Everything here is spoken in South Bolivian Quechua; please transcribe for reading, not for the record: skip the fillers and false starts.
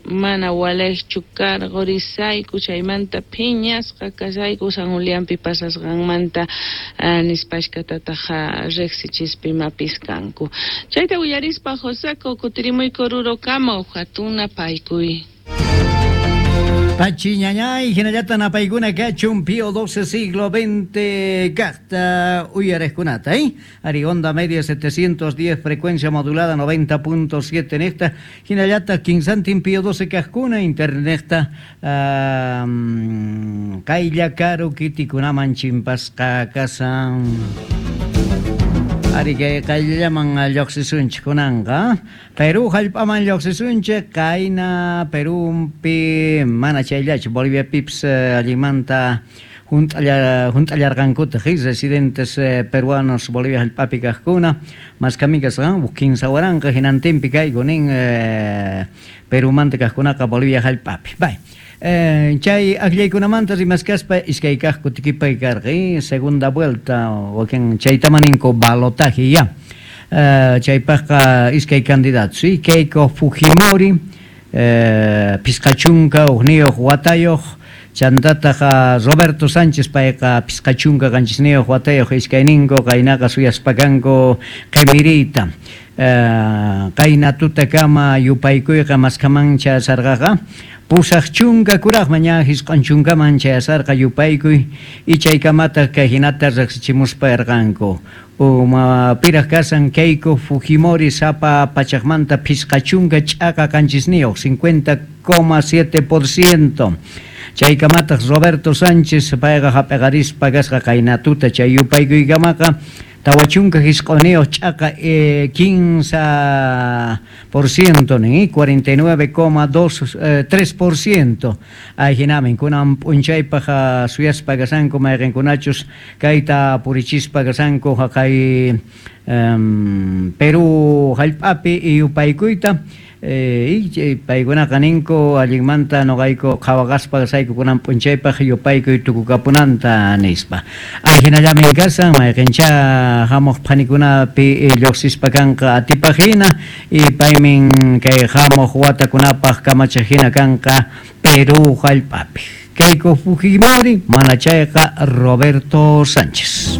Mana walejchu karqorisayku, chaymanta phiñasqa kashayku San Julianpi pasasqanmanta, nispashkatataj rejsichispa imapis kanku. Chayta willarispa Joseco kutirimuyku Orurokama uj jatun napaykuy. Pachi ñañay, hinallata napaykuna kachun Pío XII siglo XX kajta uyarejkunata, eh? Ari onda media 710 frecuencia modulada 90.7 nejta, hinallataq kinsantin Pío XII kajkuna internetnejta qaylla karu kitikunaman chimpasqa kasan. Ari kay qayllallaman lloqsisunchik kunanqa. Perú hallp'aman lloqsisunchik, qayna Perúpi mana chayllachu, Boliviapipis allinmanta Hunt'allarqankutaj residentes peruanos Bolivia hallp'api kajkuna, maskami kasqan uj 3000 jinantinpi kayku nin Perumanta kajkunaqa Bolivia hallp'api. Bay. Chay ajllaykunamanta rimaskaspa iskay kaj kutikipay karqa, segunda vuelta, wakin chaytama ninku balotaje ya. Chaypajqa iskay candidatos, Keiko Fujimori, 51 watayoj, chantataj Roberto Sánchez payqa 57 watayoj, iskayninku qaynaqa suyaspa kanku qemiriyta. Qayna tutakama yupaykuyqa maskhaman chayasarqaqa 80 kurajman, ña 90man chayasarqa yupaykuy, y chaykamataj kay jinata rejsichimuspa erqanku. Uma piraj kasan Keiko Fujimori sapa pachajmanta 50.7, 50,7%. Chaykamataj Roberto Sánchez payqa jap'eqarispa kasqa qayna tuta chay yupaykuykamaqa 49.3% nin, 49,2, 3%. Ajinamin kunan p'unchaypaj suyaspa kasanku mayqenkunachus kayta purichispa kasanku jaqay Perú hallp'api yupaykuyta, paykunaqa ninku allinmanta noqayku qhawaqaspa kasayku kunan p'unchaypaj yupaykuy tukukapunanta nispa. Ajinallamin kasan mayqenchá hamuq phanikunapi lluqsispa kanqa atipaj hina, y paymin kay hamuq watakunapaj kamachej hina kanqa Perú hallp'api. Keiko Fujimori, mana chayqa Roberto Sánchez.